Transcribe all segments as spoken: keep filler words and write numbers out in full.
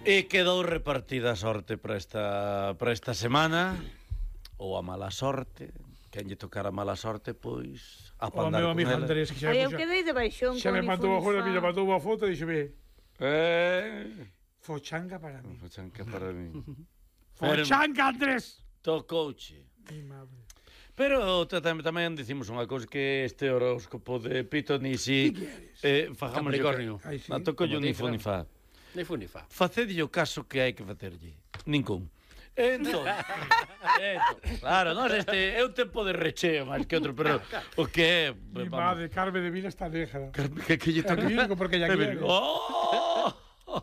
E quedou repartida a sorte para esta, para esta semana, ou a mala sorte. Quen lle tocara a mala sorte, pois a O pandar meu con amigo ela. Andrés, que xa Ai, me eu quedei de baixón xa con me mi mandou agora, funifá. mira, mandou unha foto e dixo, ve, Eh, fochanga para mí. Fochanca para mí. Fochanga, Andrés! Tocouche. Mi madre. Pero tamén, tamén dicimos unha cousa, que este horóscopo de Pito ni si eh, fajamos Capricornio. Ai, sí. a toco yo Como ni ti, fu ni fa. Ni fu ni fa. Facedlle o caso que hai que facerlle. Ningún. Entón, entón, claro, non este é un tempo de recheo máis que outro, pero o que é, Mi vamos, madre, Carmen de Vilas está negra. que que lle toca. Te digo porque ya quiere. Oh!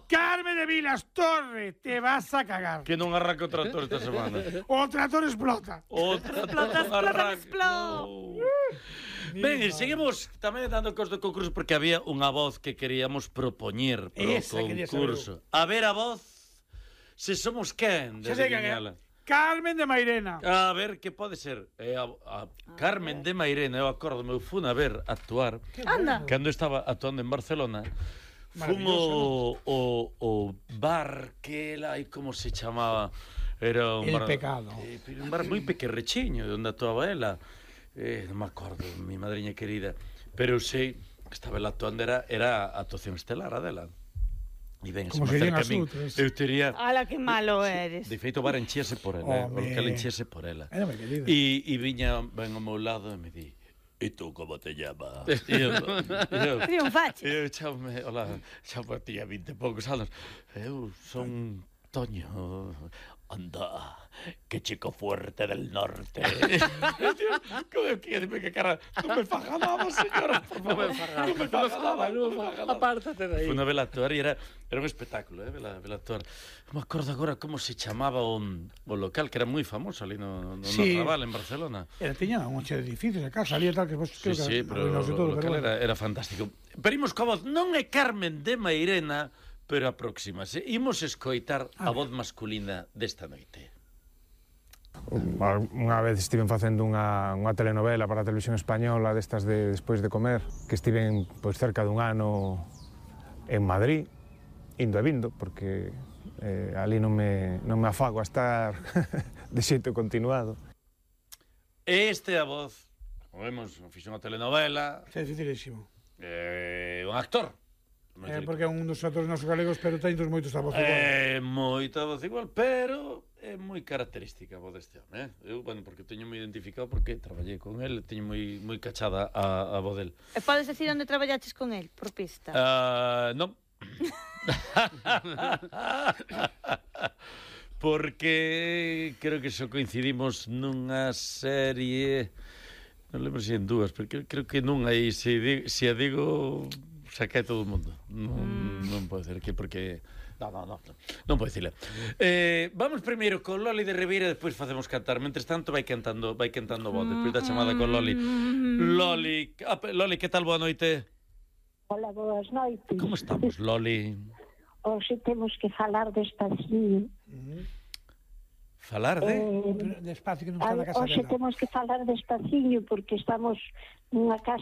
Carmen de Vilas, torre, te vas a cagar. Que non arranca o tractor esta semana. O trator explota. O tractor Explota, non explota, arranca. explota. Oh. Ben, e seguimos tamén dando cos do concurso porque había unha voz que queríamos propoñer pro Esa quería saber concurso. A ver a voz, se somos quen de Xa sei quen é. adivinhala. Carmen de Mairena. A ver, que pode ser? É a, a Carmen de Mairena, eu acordo, eu fun a ver actuar Anda. cando estaba actuando en Barcelona. Fun o, o, o bar que ela, e como se chamaba? Era un El bar, Pecado. Eh, un bar moi pequerrechiño, onde actuaba ela. Eh, non me acordo, mi madriña querida. Pero sei que estaba ela actuando, era, era a actuación estelar a dela. E ben, se Como me serían acerca a as min, outras. eu tería... Ala, que malo eres. De feito, o bar enchese por ela, eh, o Home. local enchese por ela. Era moi querida. E, e viña ben ao meu lado e me di: "E tú como te llamas?" E eu, e eu, Triunfache. eu chame, hola, chamo, tía vinte e poucos anos. Eu son Toño. Anda, que chico fuerte del norte. Tío, como eu quería, dime que cara, non me faja nada, señora, por favor. Non me faja nada, non me faja nada. Apártate de aí. Fui unha vela actuar e era, era un espectáculo, eh, vela, vela actuar. Non me acordo agora como se chamaba o, o local, que era moi famoso ali no, no, Sí. no Raval, en Barcelona. Era, tiña un che de edificios a casa, ali e tal, que vos Sí, creo sí, que pero o, arruinose todo, o local pero bueno. era, era fantástico. Pero imos coa voz, non é Carmen de Mairena, pero aproximase. Imos escoitar a voz masculina desta noite. Unha vez estiven facendo unha, unha telenovela para a televisión española destas de Despois de comer, que estiven pois, cerca dun ano en Madrid, indo e vindo, porque eh, ali non me, non me afago a estar de xeito continuado. Este é a voz, como vemos, fixo unha telenovela, É dificilísimo. eh, un actor. É porque é un dos actores nosos galegos, pero ten dos moitos a voz igual. É moita voz igual, pero é moi característica a voz deste home, eh? Eu, bueno, porque teño moi identificado porque traballei con el, teño moi moi cachada a, a voz del. E podes decir onde traballaches con el, por pista? Ah, non. Porque creo que só coincidimos nunha serie, non lembro se en dúas, pero creo, creo que non aí, se, di, se a digo, xa cae todo o mundo. Non, mm. non pode ser que porque... Non, non, non, non pode dicirle. Eh, vamos primeiro con Loli de Ribeira, despois facemos cantar. Mentres tanto vai cantando, vai cantando voz, despois da chamada con Loli. Loli, ah, Loli, que tal, boa noite? Hola, boas noites. Como estamos, Loli? Hoxe temos que falar despacio. Falar de... Eh, Pero despacio, que non está na casa hoxe dela. temos que falar despaciño porque estamos nunha casa